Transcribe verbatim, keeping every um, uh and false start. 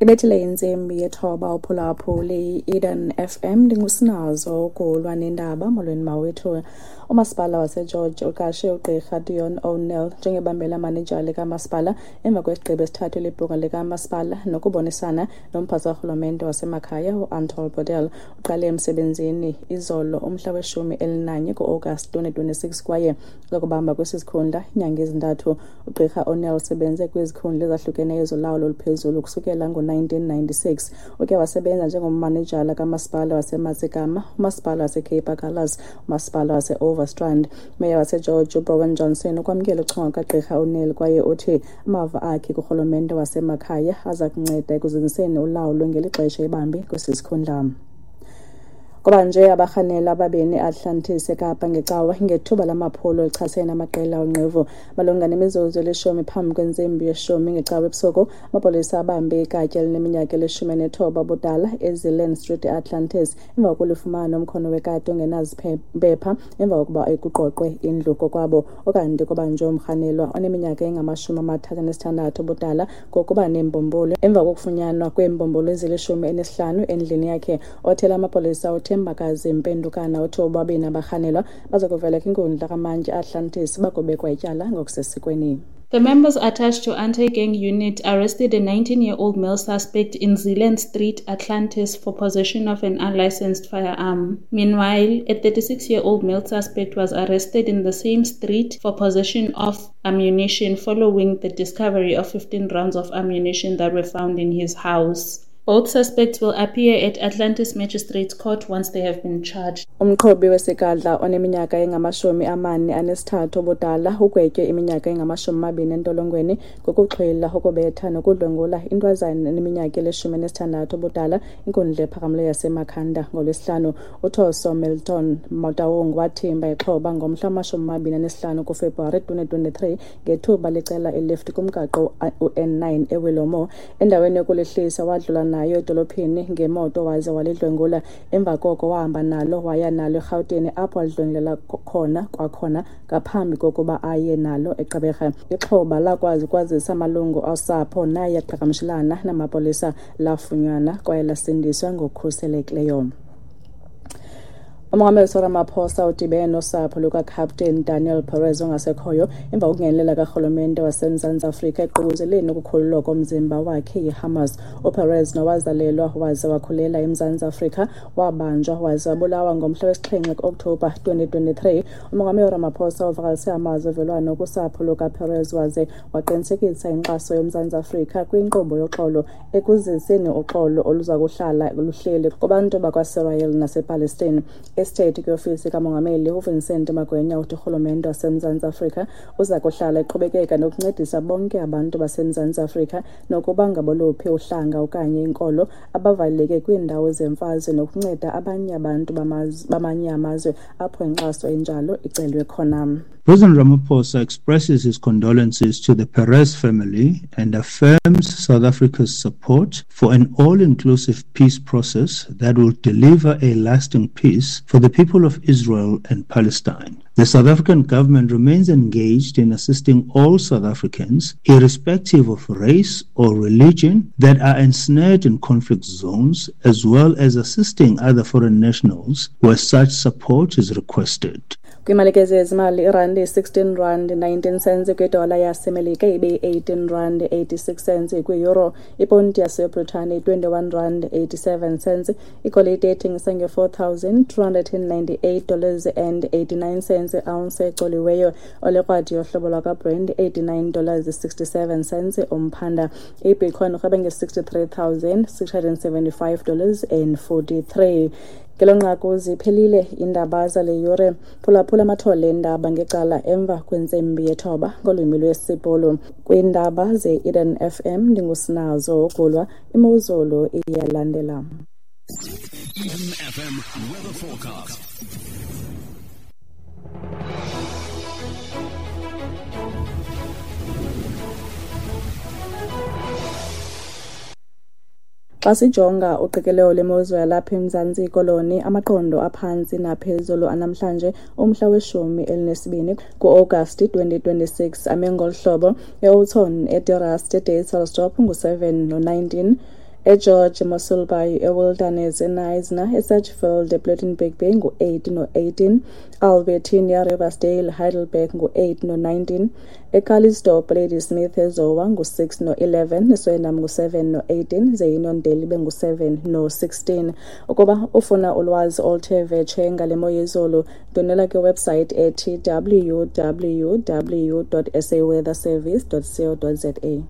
Ibethile intsimbi yethoba uphulaphuli i-Eden F M ndingusinazo ukulwa nendaba. Molweni mawethu. Umasipala waseGeorge uqashe ugqirha Dion O'Neill njengebambela manejala likamasipala emva kwesigqibo esithathwe libhunga likamasipala nokubonisana nomphathi karhulumente wasemakhaya uAntol Bordel. Uqale emsebenzini izolo umhla weshumi elinanye ku-August twenty twenty-six kwaye uzakubamba kwesi sikhundla iinyanga ezintathu. Ugqirha O'Neill usebenze kwizikhundla ezahlukeneyo zolawulo oluphezulu kusukela ngo-nineteen ninety-six. Uke wasebenza njengommanejala kamasipala waseMatsikama, umasipala waseCape Agulhas, umasipala wase-Overstrand. Meya waseGeorge uBrowan Johnson ukwamkela uchongo kagqirha O'Neill kwaye uthi amava akhe kurhulumente wasemakhaya aza kunceda ekuzinziseni ulawulo ngeli xesha ebambe kwesi sikhundla. Kuba nje abarhanela ababini e-Atlantis eKapa ngecawa ngethuba lamaphulo echasene namaqela onqevu. Malunga nemizuzu elishumi phambi kwentsimbi yeshumi ngecawa ebusuku, amapolisa abambe ikatye elineminyaka elishumi nethoba ubudala eZeeland Street e-Atlantis emva kokulifumana umkhono wekati ongenaziphepha emva kokuba kuqoqwe indlu kokwabo. Ukanti kubanjwe umrhanelwa oneminyaka engamashumi amathathu anesithandathu ubudala ngokuba neembumbulu emva kokufunyanwa kweembumbulu ezilishumi enesihlanu endlini yakhe. Othela amapolisa uThembakazi Mpendukana uthi bobabini abarhanelwa baza kuvela kwinkundla kamantyi e-Atlantis bakubekwa ityala ngokusesikweni. The members attached to anti-gang unit arrested a nineteen-year-old male suspect in Zeeland Street, Atlantis, for possession of an unlicensed firearm. Meanwhile, a thirty-six-year-old male suspect was arrested in the same street for possession of ammunition following the discovery of fifteen rounds of ammunition that were found in his house. Both suspects will appear at Atlantis Magistrates Court once they have been charged. Umqhubi wesigadla oneminyaka engamashumi amane anesithathu ubudala ugwetywe iminyaka engamashumi amabini entolongweni ngokuxhwila, ukubetha nokudlwengula intwazana eneminyaka elishumi enesithandathu ubudala inkundla ephakamileyo yaseMakhanda ngoLwesihlanu. UThoso Milton Motaung wathimba ixhoba ngomhla wamashumi amabini anesihlanu kuFebruwari twenty twenty-three ngethuba licela ilift kumgaqo u-N nine eWillowmoor. Endaweni yokulihlisa wadlula nayo edolophini ngemoto waze walidlwengula. Emva koko wahamba nalo waya nalo eRhawutini apho alidlwengulela khona kwakhona ngaphambi kokuba aye nalo eGqeberha. Ixhoba lakwazi ukwazisa amalungu osapho naye aqhagamshelana namapolisa, lafunyanwa kwaye lasindiswa ngokukhuselekileyo. Umongameli Cyril Ramaphosa udibene nosapho lukaCaptain Daniel Perez ongasekhoyo emva kokungenelela karhulumente waseMzantsi Afrika ekuququzeleni ukukhululwa komzimba wakhe yiHamas. UPerez nowazalelwa waze wakhulela eMzantsi Afrika wabanjwa waze wabulawa ngomhla wesixhenxe ku-Okthobha twenty twenty-three. Umongameli Ramaphosa uvakalise amazwi ovelwano kusapho lukaPerez waze waqinisekisa inkxaso yoMzantsi Afrika kwinkqubo yoxolo ekuziseni uxolo oluza kuhlala luhleli kubantu bakwaSirayeli nasePalestine. Estate kwiofisi kamongameli uVincent Magwenya uthi urhulumente waseMzantsi Afrika uza kuhlala eqhubekeka nokuncedisa bonke abantu baseMzantsi Afrika nokuba ngaboluphi uhlanga okanye inkolo abavaleleke kwiindawo zemfazwe nokunceda abanye abantu bamanye amazwe apho inkxaso enjalo icelwe khona. President Ramaphosa expresses his condolences to the Perez family and affirms South Africa's support for an all-inclusive peace process that will deliver a lasting peace for the people of Israel and Palestine. The South African government remains engaged in assisting all South Africans, irrespective of race or religion, that are ensnared in conflict zones, as well as assisting other foreign nationals where such support is requested. Kwimalike zezimali, irandi sixteen rand nineteen cents kwidola yaseMelika ibe eighteen rand eighty-six cents kwi-euro, iponti yaseBritane twenty-one rand eighty-seven cents, igolide ethengisa nge-four thousand two hundred ninety-eight dollars and eighty-nine cents ounce ecoliweyo, olekrwadi yohlobo lwakwaBrent eighty-nine dollars sixty-seven cents umphanda. IBitcoin irhwebe nge-sixty-three thousand six hundred seventy-five dollars and forty-three. Ngelo nqaku ziphelile iindaba zale yure. Phulaphula amathole eendaba ngecala emva kwentsimbi yethoba ngolwimi lwesiBhulu. Kwiindaba ze-Eden F M ndingusinazo Ugulwa, imozulu iyalandela. Eden F M weather forecast. Xa sijonga uqikelelo lemozulu yalapha eMzantsi Koloni, amaqondo aphantsi naphezulu anamhlanje umhla weshumi elinesibini ku-Agasti twenty twenty-six ame ngolu hlobo: eOuthon, eDeRust, eDeysel ngu-seven no-nineteen, eGeorge, Mossel Bay, eWilderness, eKnysna, eSedgefield, ePlettenberg Bay ngu-eight no-eighteen, Albertinia, Riversdale, Heidelberg ngu-eight no-nineteen, eCalitzdorp, Ladysmith, eZowa ngu-six no-eleven, eSwellnum ngu-seven no-eighteen, ze iNondeli ibe ngu-seven no-sixteen. Ukuba ufuna ulwazi oluthe vetshe ngale mo yezulu, ndwendwela kwiwebsite ethi w w w dot s a weather service dot co dot za.